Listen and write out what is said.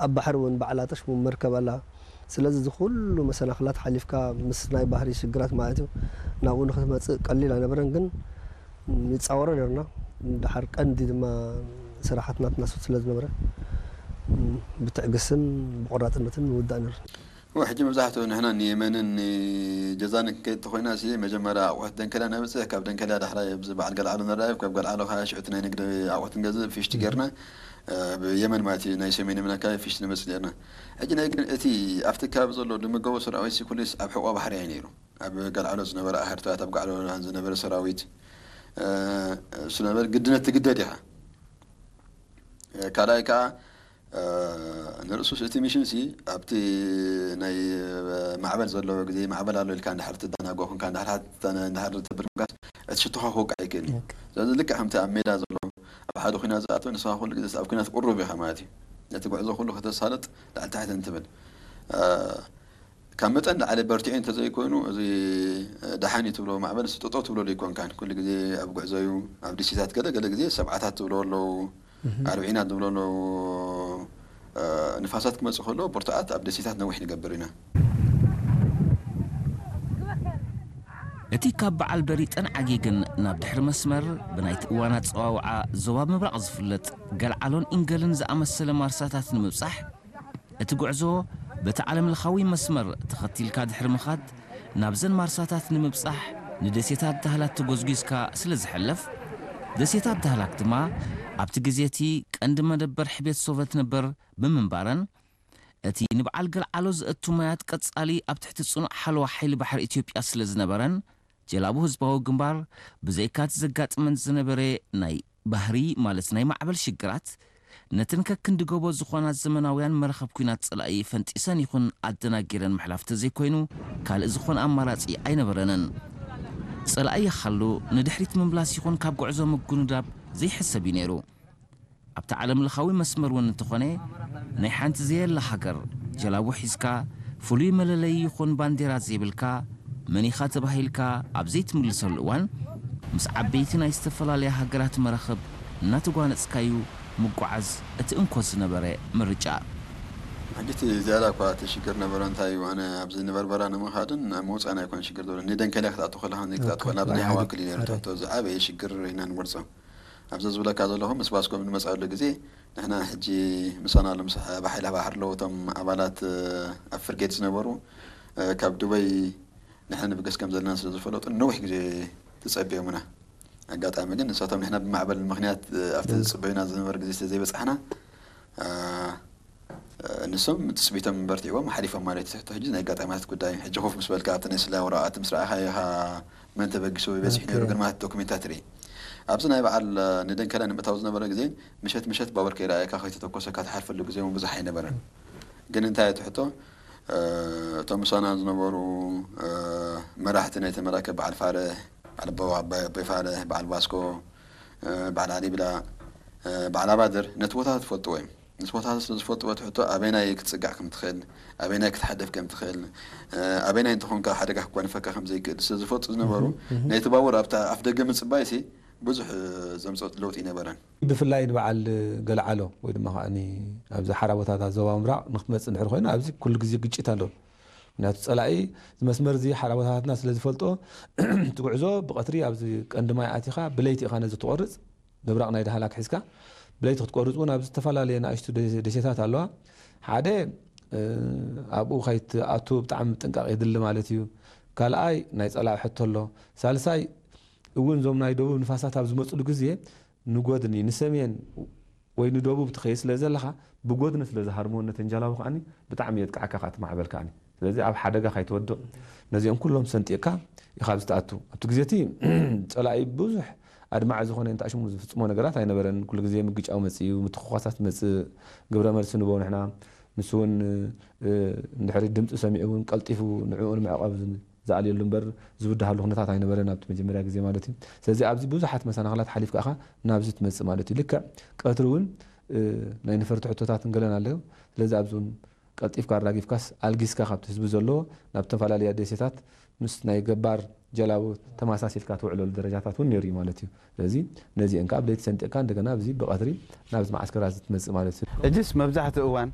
ኣብ ባሕሪ እውን ባዕላ ጠሽሙ መርከብ ኣላ። ስለዚ እዚ ኩሉ መሰናኽላት ሓሊፍካ ምስ ናይ ባህሪ ሽግራት ማለት እዩ ናብኡ ንክትመፅእ ቀሊል ኣይነበረን፣ ግን ንፃወሮ ነርና። ድሓር ቀንዲ ድማ ስራሓት ናትና ስለ ዝነበረ ብትዕግስትን ብቆራፅነትን ንውዳእ ነርና። ሕጂ መብዛሕትኡ ንሕና ንየመንን ንጀዛን ከይድ ተኮይና ሲ መጀመርያ ኣቑሑት ደንከልያ ነብፅሕ፣ ካብ ደንከልያ ዳሕራይ ኣብዚ በዓል ገልዓሎ ንራየብ፣ ካብ ገልዓሎ ከዓ ሽዑቲ ናይ ንግዲ ኣቑሑት ንገዝእ ፊሽቲ ጌርና ብየመን ማለት እዩ። ናይ ሰሜን የመን ኣካባቢ ፊሽቲ ንመፅእ ኔርና። ሕጂ ናይ ግን እቲ ኣብቲ ከባቢ ዘሎ ድምገቦ ሰራዊት ሲ ኩሉስ ኣብ ሕቆ ባሕሪ እዩ ነይሩ። ኣብ ገልዓሎ ዝነበረ ኣህርታት ኣብ ጋዕሎ ዝነበረ ሰራዊት እሱ ነበር ግድነት ትግደድ ኢኻ። ካልኣይ ከዓ ንርእሱስ እቲ ሚሽን ሲ ኣብቲ ናይ ማዕበል ዘለዎ ግዜ ማዕበል ኣሎ ኢልካ እንድሕር ትደናጎ ኮንካ እንድሕር ትብል ኮንካ እቲ ሽቶኻ ክወቅዕ ኣይክእልን እዩ። ስለዚ ልክዕ ከምቲ ኣብ ሜዳ ዘሎ ኣብ ሓደ ኩናት ዝኣተወ ንስኻ ኩሉ ግዜ ኣብ ኩናት ቅሩብ ኢኻ ማለት እዩ። ነቲ ጉዕዞ ኩሉ ከተሳልጥ ላዕሊ ታሕቲ እንትብል ካብ መጠን ላዕሊ በርቲዑ እንተዘይኮይኑ እዚ ደሓን እዩ ትብሎ ማዕበል ስጥጦ ትብሎ ዘይኮንካን ኩሉ ግዜ ኣብ ጉዕዞ እዩ። ኣብ ደሴታት ገለ ገለ ግዜ ሰብዓታት ትብሎ ኣለዉ ኣርብዒናት ንብሎ ኣለዉ። ንፋሳት ክመፅእ ከሎ ብርቱዓት ኣብ ደሴታት ነዊሕ ንገብር ኢና። እቲ ካብ በዓል በሪጠን ዓጌግን ናብ ድሕሪ መስመር ብናይቲ እዋን ኣጸዋውዓ ዞባ ምብራቕ ዝፍለጥ ገልዓሎን ኢንገልን ዝኣመሰለ ማርሳታት ንምብጻሕ እቲ ጉዕዞ በቲ ዓለምለኻዊ መስመር ተኸቲልካ ድሕሪ ምኻድ ናብዘን ማርሳታት ንምብጻሕ ንደሴታት ዳህላክ ተጎዝጒዝካ ስለ ዝሕለፍ ደሴታት ዳህላክ ድማ ኣብቲ ግዜ እቲ ቀንዲ መደበር ሕቤት ሶቨት ነበር ብምንባረን እቲ ንበዓል ገልዓሎ ዘእቱ ማያት ቀጻሊ ኣብ ትሕቲ ጽኑዕ ሓለዋ ሓይሊ ባሕሪ ኢትዮጵያ ስለ ዝነበረን ጀላቡ ህዝባዊ ግንባር ብዘይካ እቲ ዘጋጥመን ዝነበረ ናይ ባህሪ ማለት ናይ ማዕበል ሽግራት ነተን ከክንዲ ጎቦ ዝኾና ዘመናውያን መራኸብ ኲናት ጸላኢ ፈንጢሰን ይኹን ኣደናጊረን ምሕላፍ ተዘይኮይኑ ካልእ ዝኾነ ኣማራጺ ኣይነበረንን። ጸላኢ ይሓሉ ንድሕሪት ምምላስ ይኹን ካብ ጉዕዞ ምጉንዳብ ዘይሕሰብ እዩ ነይሩ። ኣብቲ ዓለምለኻዊ መስመር እውን እንተኾነ ናይ ሓንቲ ዘየላ ሃገር ጀላቡ ሒዝካ ፍሉይ መለለዪ ይኹን ባንዴራ ዘይብልካ መን ኢኻ ተባሂልካ ኣብ ዘይትምልሰሉ እዋን ምስ ዓበይቲ ናይ ዝተፈላለያ ሃገራት መራኽብ እናተጓነፅካዩ ምጓዓዝ እቲ እንኮ ዝነበረ ምርጫ። ሕጂ እቲ ዝያዳ እኳ እቲ ሽግር ነበረ እንታይ እዩ ኣነ ኣብዚ ንበርበራ ንምኻድን ናብ ምውፃእን ኣይኮነ ሽግር ዘሎ ንደንከልያ ክትኣቱ ከለኻ ክትኣቱ ከለኻ ብናይ ሃዋ ክሊን እዩ ትሕቶ ዝዓበየ ሽግር ኢና ንወርፆ ኣብዚ ዝብለካ ዘለኹ ምስ ባስኮ ብንመፅኣሉ ግዜ ንሕና ሕጂ ምሳና ኣሎ ምስ ብሓይሊ ባሕሪ ኣለዉ እቶም ኣባላት ኣብ ፍርጌት ዝነበሩ ካብ ዱበይ ንሕና ንብገስ ከም ዘለና ስለ ዝፈለጡ ነዊሕ ግዜ ተፀቢዮምና ኣጋጣሚ ግን ንሳቶም ንሕና ብማዕበል ምክንያት ኣብቲ ዝፅበዩና ዝነበረ ግዜ ስለ ዘይበፃሕና ንሶም ትፅቢቶም በርቲዕዎም ሓሊፎም ማለት እዩ። ሕቶ ሕጂ ናይ ኣጋጣሚታት ጉዳይ እዩ። ሕጂ ኮፍ ምስ በልካ ኣብቲ ናይ ስላ ወረቓቕቲ ምስ ረኣኻ ኢኻ መን ተበጊሱ በፂሑ ነይሩ ግን ማለት ዶክሜንታት ርኢ ኣብዚ ናይ በዓል ንደንከላ ንምእታው ዝነበረ ግዜ ምሸት ምሸት ባቡር ከይረኣየካ ከይተተኮሰካ ትሓልፈሉ ግዜ እውን ብዙሕ ኣይነበረን። ግን እንታይ እቲ ሕቶ እቶም ምሳና ዝነበሩ መራሕቲ ናይቲ መራከብ በዓል ፋርሕ፣ በዓል ኣቦይ ፋርሕ፣ በዓል ባስኮ፣ በዓል ኣሊብላ፣ በዓል ኣባድር ነቲ ቦታ ትፈልጥዎ እዮም። ምስ ቦታታት ስለ ዝፈልጥዎ እቲ ሕቶ ኣበይናይ ክትጽጋዕ ከም ትኽእል፣ ኣበይናይ ክትሓደፍ ከም ትኽእል፣ ኣበይናይ እንተኾንካ ሓደጋ ክጓንፈካ ከም ዘይክእል ስለ ዝፈልጡ ዝነበሩ ነይቲ ባቡር ኣብታ ኣፍ ደገ ምጽባይሲ ብዙሕ ዘምጽኦ ለውጢ ኣይነበረን። ብፍላይ ንበዓል ገልዓሎ ወይ ድማ ከዓኒ ኣብዚ ሓራ ቦታታት ዞባ ምብራቕ ንክትመጽእ እንድሕር ኮይና ኣብዚ ኩሉ ግዜ ግጭት ኣሎ። ምክንያቱ ጸላኢ እዚ መስመር እዚ ሓራ ቦታታትና ስለ ዝፈልጦ እቲ ጉዕዞ ብቐትሪ ኣብዚ ቀንዲ ማይ ኣቲኻ ብለይቲ ኢኻ ነዚ ትቖርጽ ምብራቕ ናይ ዳህላክ ሒዝካ ብለይቲ ክትቆርጽ እውን ኣብ ዝተፈላለየ ንኣሽቱ ደሴታት ኣለዋ። ሓደ ኣብኡ ከይትኣቱ ብጣዕሚ ጥንቃቕ የድሊ ማለት እዩ። ካልኣይ ናይ ጸላኢ ሕቶ ኣሎ። ሳልሳይ እውን እዞም ናይ ደቡብ ንፋሳት ኣብ ዝመፅሉ ግዜ ንጎድኒ ንሰሜን ወይ ንደቡብ ትኸይድ ስለ ዘለኻ ብጎድኒ ስለ ዝሃርምዎ ነተን ጀላቡ ከዓኒ ብጣዕሚ የጥቅዓካ ከኣ እቲ ማዕበል ከዓኒ ስለዚ ኣብ ሓደጋ ካይትወድቕ ነዚኦም ኩሎም ሰንጢቕካ ኢኻ ኣብዚ ትኣቱ ኣብቲ ግዜ እቲ ጸላኢ ብዙሕ ኣድማዒ ዝኾነ እንተ ሽሙ ዝፍጽሞ ነገራት ኣይነበረን ኩሉ ግዜ ምግጫው መጽእ እዩ ምትኹኳሳት መጽእ ግብረ መልሲ ንቦ ንሕና ንሱ እውን እንድሕሪ ድምፂ ሰሚዑ እውን ቀልጢፉ ንዕኡ ንምዕቐብ ዝኣልየሉ እምበር ዝብድሃሉ ኩነታት ኣይነበረን ኣብቲ መጀመርያ ግዜ ማለት እዩ። ስለዚ ኣብዚ ብዙሓት መሰናኽላት ሓሊፍካ ኢኻ ናብዚ ትመጽእ ማለት እዩ። ልክዕ ቀትሪ እውን ናይ ነፈርቲ ሕቶታትን ገለን ኣለዮ። ስለዚ ኣብዚ እውን ቀልጢፍካ ኣራጊፍካስ ኣልጊስካ ካብቲ ህዝቢ ዘለዎ ናብ ዝተፈላለያ ደሴታት ምስ ናይ ገባር ጀላቡ ተመሳሲልካ ትውዕለሉ ደረጃታት እውን ነይሩ እዩ ማለት እዩ። ስለዚ ነዚአን ከዓ ብለይቲ ሰንጢቕካ እንደገና ኣብዚ ብቐትሪ ናብዚ መዓስከራት እዚ ትመጽእ ማለት እዩ። ሕጅስ መብዛሕትኡ እዋን